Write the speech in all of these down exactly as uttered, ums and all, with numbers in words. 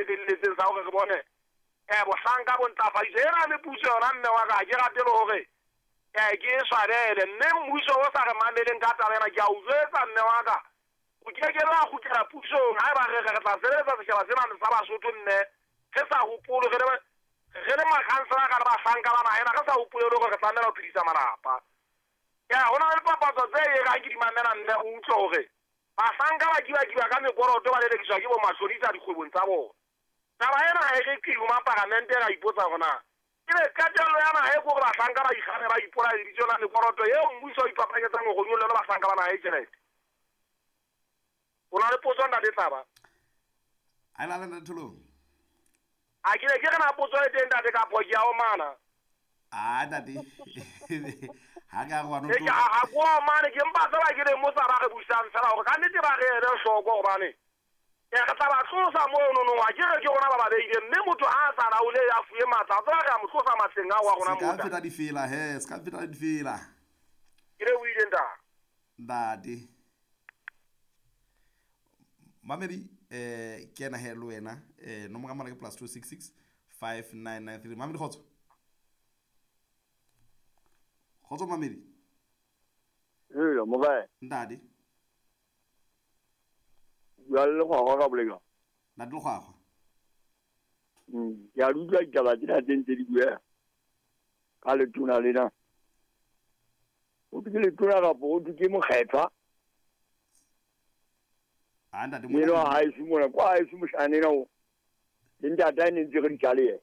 felletseng sa hore re bone eh bohlanka bo ntlafaditswe. Ena le puso yona mme wa ka, ha ke rate le hore eh ke e swabele, mme mmuso o sa re mameleng ka taba ena, ke a o jwetsa mme wa ka, o ke ke ra kgutlela pusong. Haeba re re re tla sebeletsa setjhaba sena sa Basotho, mme re sa hopole re le re le makhansela ka le bahlanka ba naha ena, re sa hopole le hore re tlamela ho phedisa malapa. Ya ho na le dipapatso tse erang ke di mamela mme o utlwe hore bahlanka ba kiba-kiba ka mekoroto ba lelekiswa ke bo mashonisa dikgwebong tsa bona. Taba ena ha e re qiu maparamente ra ipotsa hore na ebe qetello ya naha e ke hore bahlanka ba ikgane ba ipolaye lebitso la mekoroto eo mmuso o ipapanyetsang hore o nyollele bahlanka ba naha e tjhelete. O na le potso ntate Tlaba? A e lale ntate Tholong. A ke ne ke re na potso e teng ntate kapo ke a omana? Ah ntate. Ha ka re wa no E ke ha ko omane, ke mpa fela ke le mosa ba re busang fela hore ka nnete ba re ele hloko hobane e re tla ba tlosa mono no, ha ke re ke rona ba ba beileng, mme motho ha a sa laole ya fuwe matla, a tseba re a mo tlosa matleng ao a rona Se ka mona. feta difela he, se ka feta difela. Ke le o ile ntate. Ntate. Mamedi eh ke ena he le wena eh nomoro ya mohala ke plus two six six five nine nine three. Mamedi kgotso. Kgotso Mamedi. Ee, mokae? Ntate. Bua le Lekgwakgwa ka boleka. Ntate Lekgwakgwa. Mm, ke a di utlwa ditaba tsena tse ntse di bueha ka letona lena. Ho thwe ke letona kapa ho thwe ke mokgethwa? Ah, ntate, Eno mona- ha heso mona, kwa haeso moshana ena o. Le ntate a ne ntse re di tjale yena.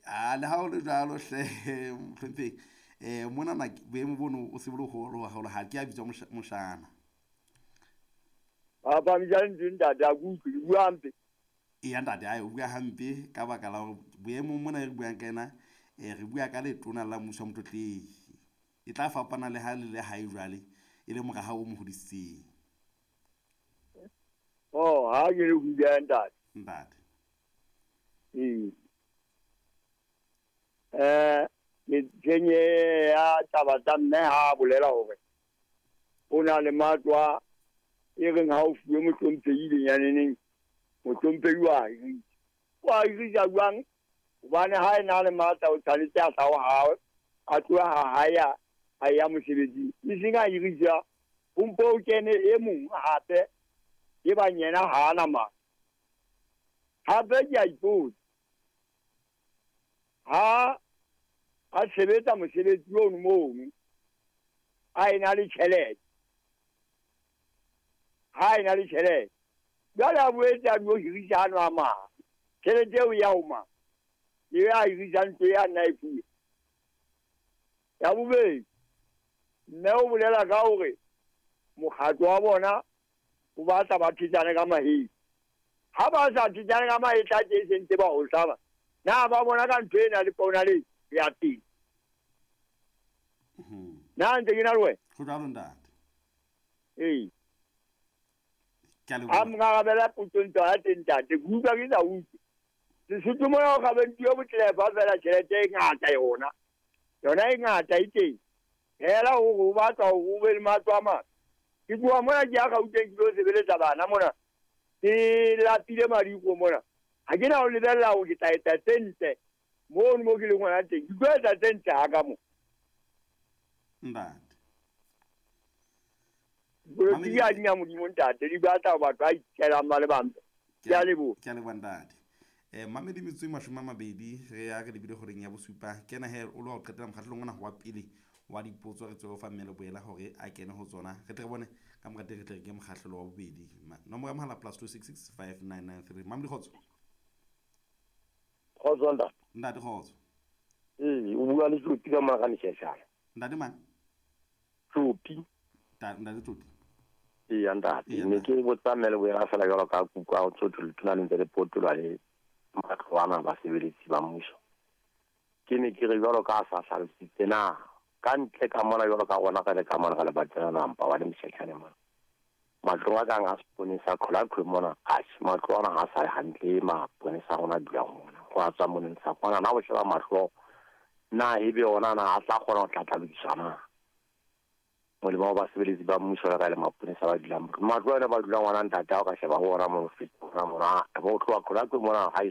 Ah, le ha ho le jwalo hle, mohlomphehi. Eh, mona na boemo bono o se bo le holo haholo, ha ke a bitswa mosha-, moshana. Ba phamisa lentswe ntate, ha ke utlwe, ke bua hampe. Eya ntate, ae, o bua hampe ka baka la hore boemong mona e re buang ka ena, eh, re bua ka letona la mmuso wa Motlotlehi. E tla fapana le ha le le hae jwale, e le mora hao o mo hodisitseng. Oh, ha ke le ho bua ntate. Ntate. Ee. Eh, ke kenye ya taba tsa mme ha a bolela hore o na le matlo a e reng ha o fuwe mohlomphehi lenyaneneng, mohlomphehi wa hirisa. Wa hirisa jwang? Hobane ha e na le matla o tshwanetse a tla ho hae, a tloha ha hae a, a ya mosebetsing. E seng a hirisa, ho mpo o kene e mong hape, e bang yena ha ana matla. Hape ke a ipotsa, ha a sebetsa mosebetsi ono mono, a ena le tjhelete, ha ena le tjhelete, jwale a boetse a dio hirisa ano a mang, tjhelete eo ya ho mang? E a hirisa ntlo ya nna e fuwe. Ya bobedi, mme o bolela ka hore mokgatlo wa bona o batla ba thetsane ka mahetla. Ha ba sa thetsane ka mahetla tje se ntse ba o hlaba, na ba bona ka ntho ena le pona le ya teng? Mhm. Na ntse ke na le wena? Ho jwalo ntate. Ee. Ke a leboha. Ha nkarabela potso ntho ya teng ntate, ke utlwa ke sa utlwe. Sesotho mona ho kgabentsuwe botlefa fela tjhelete e ngata yona. Yona e ngata e teng. Hela hore o batla hore o be le matlo a mang. Ke tloha mona ke ya Gauteng ke lo sebeletsa bana mona. Ke lapile madiko mona. Ha ke na ho lebella hore ke tla etsa tse ntle mono mo ke leng hona teng. Ke tlo etsa tse ntle ha ka mo. Ntate. Dipolotiki ha di na Modimo ntate, di batla batho ba itjelang ba le bang. Ke a leboha. Ke a leboha ntate. Eh, Mamedi metsotso e mashome a mabedi re ya re lebile horeng ya bosupa. Ke ena he o lo wa ho qetela mokgahlelong ona wa pele wa dipotso re tswe ho fa mme Leboela hore a kene ho tsona. Re tle re bone ka mora teng re tle re ke mokgahlelo wa bobedi. Ma-, nomoro ya mohala plus two six six five nine nine three. Mamedi kgotso. Kgotso ntate. Ntate kgotso. Ee, o bua le Tlopi ka mora Mesheshana. Ntate mang? Tlopi. Ta-, ntate Tlopi. Ee, ntate. Ee, Ne ntate. ke botsa mme Leboela fela jwalo ka kuku a ho tsotho letona le ntse le potolwa le matlo ana basebeletsi ba mmuso. Ke ne ke re jwalo ka a sa hlalositse na ka ntle ka mona jwalo ka rona re le ka mona re le batsena nampa wa le Mesheshane mona. Matlo a kang a seponesa Qholaqhwe mona, atjhe, matlo ana ha sa le hantle, maponesa a rona a dulang mona. Ho a tswa moneng sa kwana, na ho sheba mahlo, na ebe ona na a tla kgona ho tla tla lokiswa na? Molemo wa basebeletsi ba mmuso le ka le maponesa ba dulang. Matlo ana ba dulang ona ntate, ha o ka sheba ho ona mono feta, ona mona, bo tloha Qholaqhwe mona, ha e